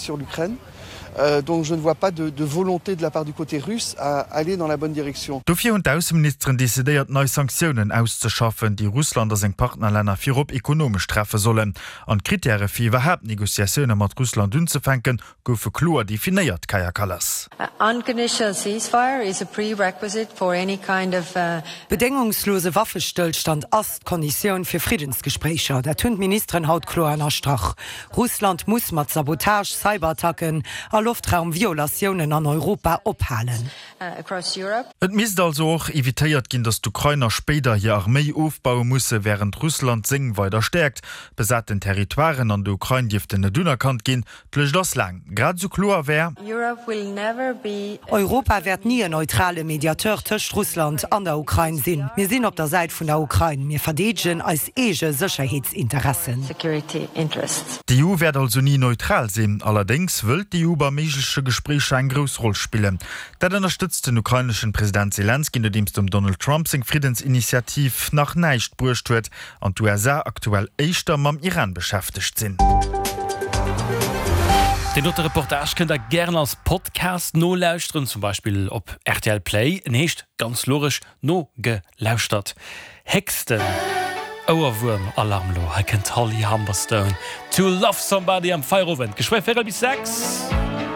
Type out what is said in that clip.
sur l'Ukraine. Euh, donc je ne vois pas de, de volonté de la part du côté russe à aller dans la bonne direction. Dofir hunn d'Ausseministeren decidéiert, nei Sanktiounen auszeschaffen, déi Russland a seng Partnerlänner virop ekonomesch treffe sollen. An d'Krittäre fir iwwerhaapt Negociatioune mat Russland unzefänken, goufe kloer definéiert, Kaja Kallas. Bedéngungslose Waffestëllstand ass d'Konditioun fir Friddensgespréicher. Dat hunn d'Ministeren haut kloer ënnerstrach. Russland muss mat Sabotage, Cyberattacken a Loftraum-Violatiounen an Europa ophalen. Et misst also och evitéiert ginn, datt d'Ukrainer spéider hir Arméi ofbaue musse, wärend Russland seng weider stäerkt. Besaten Territoiren an der Ukrain dierften net unerkannt ginn. D'Lëscht ass laang. Grad esou kloer wär. Europa wäert ni en neutrale Mediateur tëscht Russland an der Ukrain sinn. Mir sinn op der Säit vun der Ukrain. Mir verdeedegen eis eege Sécherheetsinteressen. D'EU wäert also ni neutral sinn. Allerdéngs wëllt d'EU bei méigleche Gespréicher eng grouss Roll spillen. Dat ënnerstëtzt den ukraineschen President Selenskyj, nodeems dem Donald Trump seng Friddensinitiativ nach näischt bruecht huet an d'USA aktuell éischter mam Iran beschäftegt sinn. Deen dote Reportage kënnt der gären als Podcast nolauschteren, zum Beispill op rtl Play. En heescht ganz logesch Nogelauschtert. Héchsten Ouerwuerm Alarm lo, hei kënnt d'Holly Humberstone, To Love Somebody am Feierowend, geschwë véirel bis 6.